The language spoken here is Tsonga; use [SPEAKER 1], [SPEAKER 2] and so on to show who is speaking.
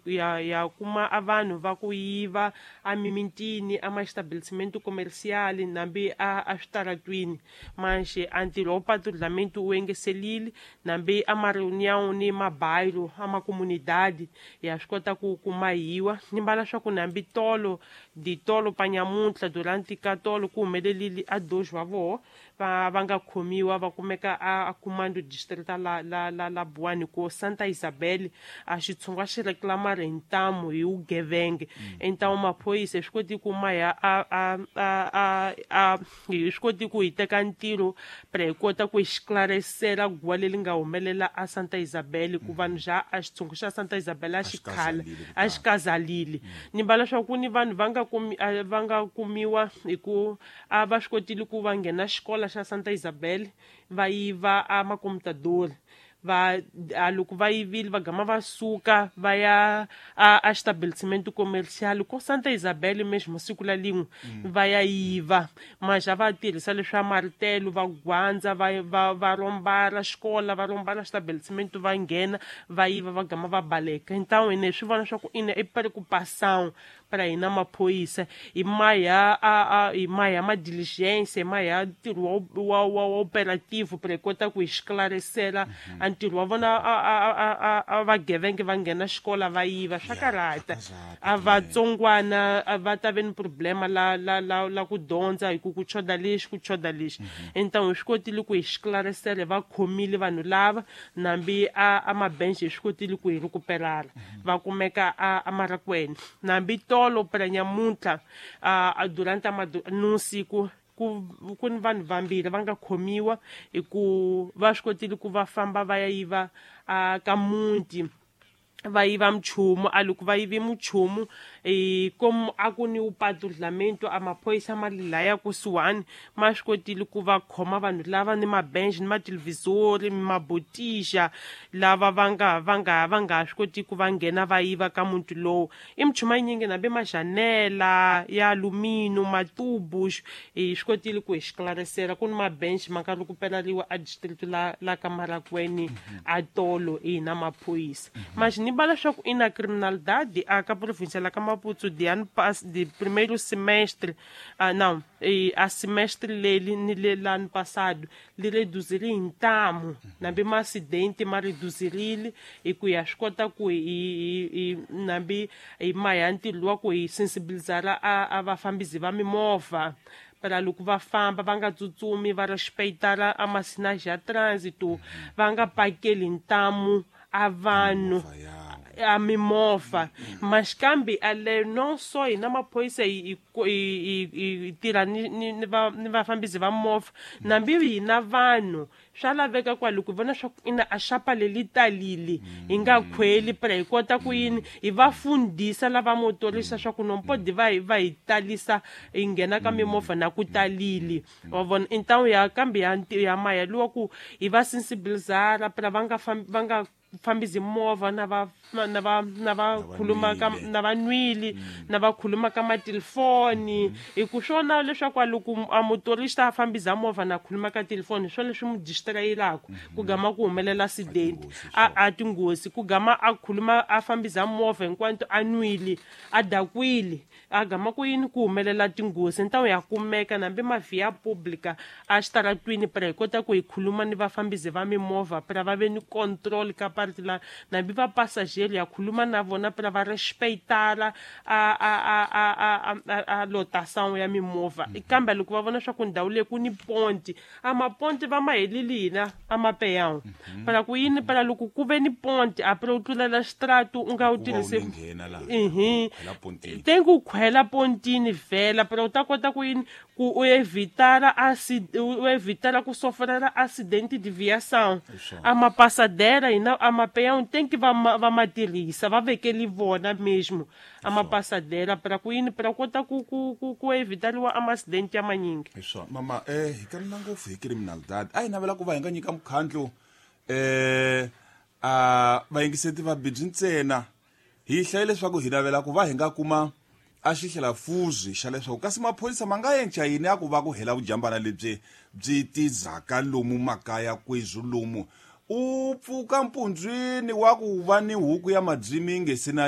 [SPEAKER 1] Ya kuma a vanhu va ku yiva a mimitini, a ma-estabelecimento comercial, nambi a switaratwini. Manxe a ntirho wa patrulhamento wu engeselile, nambi a ma-reunião ni mabairro, a macomunidade, ya swi kota ku kumahiwa. Ni mbala swa ku nambi tolo di tolo pa nyamuntlha, durante ka tolo ku humelelile a dois wa voho va nga khomiwa, va kumeka a comando distrital la Boane ko Santa Isabel. A xitshungu xi reclamar hi ntamu hi vugevenge. Então maphorisa swi koti ku ma ya a hi swi koti ku hi teka ntirho pra hi kota ku hi esclarecer guwa leri nga humelela a Santa Isabel, ku vanhu xa a xitshungu xa Santa Isabel a xi khala a xi kazalile. Ni mbala swa ku ni vanhu va nga kumi va nga kumiwa hi ku a va swi kotile ku va nghena xikolo xa Santa Isabel, va yiva a makomputador. Va a loko va yivile, va gama va suka va ya a estabelecimento comercial ko Santa Isabel mesmo siku la lin'we, va ya yiva. Mas a va tirhisa leswa martelo, va gwandza, va rombara xikola, va rombara estabelecimento, va nghena, va yiva, va gama va baleka. Então ine swi vona swa ku ine i preocupação para hina maphorisa, hi maya a hi maya ma diligência, hi maya ntirho wa operativo para hi kota ku hi esclarecela a ntirho wa vona. A vagevenge va nghena xikola va yiva, swa karhata. A vatsongwana a va ta ve ni problema la ku dyondza, hi ku choda lexi, ku choda lexi. Então hi swi kotile ku hi esclarecela, va khomile vanhu lava, nambi a mabenche hi swi kotile ku hi recuperala, va kumeka a Marakwene. Nambi tolo pra nyamuntlha, a durante a nusiku, ku ni vanhu vambirhi va nga khomiwa hi ku va swi kotile ku va famba va ya yiva a ka muti, va yiva minchumu. A loko va yivi minchumu, como a ku ni patrulhamento, a maphorisa ma le laya kusuhani ma swi kotile ku va khoma vanhu lava ni mabench ni mathelevhizori, mabotija, lava va nga swi koti ku va nghena va yiva ka muti lowu. I minchumu yinyingi, nambi majanela ya alumínio, matubus. Hi swi kotile ku hi esclarecela ku ni mabench ma nga recuperariwa a district la ka Marakweni a tolo hi na maphorisa. Mas ni bala leswaku i na criminalidade a ka província la ka Maputo de ano de primeiro semestre, ah, não, a semestre leli ni le l'ano passado li reduzile hi ntamu, nambi ma-acidente ma reduzirile, hi ku ya swi kota ku hi nambi hi maya ntirho wa ku hi sensibilizara a vafambisi va mimovha para loko va famba va nga tsutsumi, va respeitar a masinais ya trânsito, va nga pakeli ntamu a vanhu a mimovha. Mas kambe ale não só hina maphorisa hi tirha ni vafambisi va movha, nambi hina vanhu swa laveka kwa loko hi vona swa ku ina a xapa leli talile, hi nga khweli pra hi kota ku yini hi va fundisa lava motorista swa ku não pode va hi talisa, hi nghena ka mimovha na ku talile, wa vona. Então ya kambe ya maya luwa ku hi va sensibilizara pra va nga fambisi movha na va khuluma ka na va nwile, na va khuluma ka matelefoni, hi ku swona leswaku a loko a motorista a fambisa movha na khuluma ka telefoni, swona leswi mu distrayelaka, ku gama ku humelela accident, a tinghozi. Ku gama a khuluma a fambisa movha hinkwanto a nwile, a dakwile, a gama ku yini ku humelela tinghozi. Então ya kumeka nambi mavia pública a xitaratwini pra hi kota ku hi khuluma ni vafambisi va mimovha pra va ve ni control ka parte la, nambi va passageiro ya khuluma na vona pra va respeitara a lotação ya mimovha. Kambe loko va vona swa ku ndhawu leyi ku ni ponti, a maponti va ma helile, hina a mapeyawu para ku yini, para loko ku ve ni ponti a pra u tlulela xitratu u nga wu tirhisi. Tem ku khwela pontini vhela para u ta kota ku yini ku u evitara u evitara ku sofrera acidente de viação. A mapassadera hina a mapeão tem que va ma tirhisa, va vekeli vona mesmo a mapassadera para ku yini, para kota ku evitariwa ama acidente ya manyingi.
[SPEAKER 2] Hi swona, mama. Hi kalela ngopfu hi criminalidade. A hi navela ku va hi nga nyika mukhandlu a vayingiseti va bibyi ntsena. Hi hlaye leswaku hi navela ku va hi nga kuma a xihlelafuzi xa leswaku kasi maphorisa ma nga enca yini ya ku va ku hela vujambana lebyi byi tizaka lomu makaya kwezwi, lomu u pfuka mpundzwini wa ku va ni huku ya madzimi nge se na.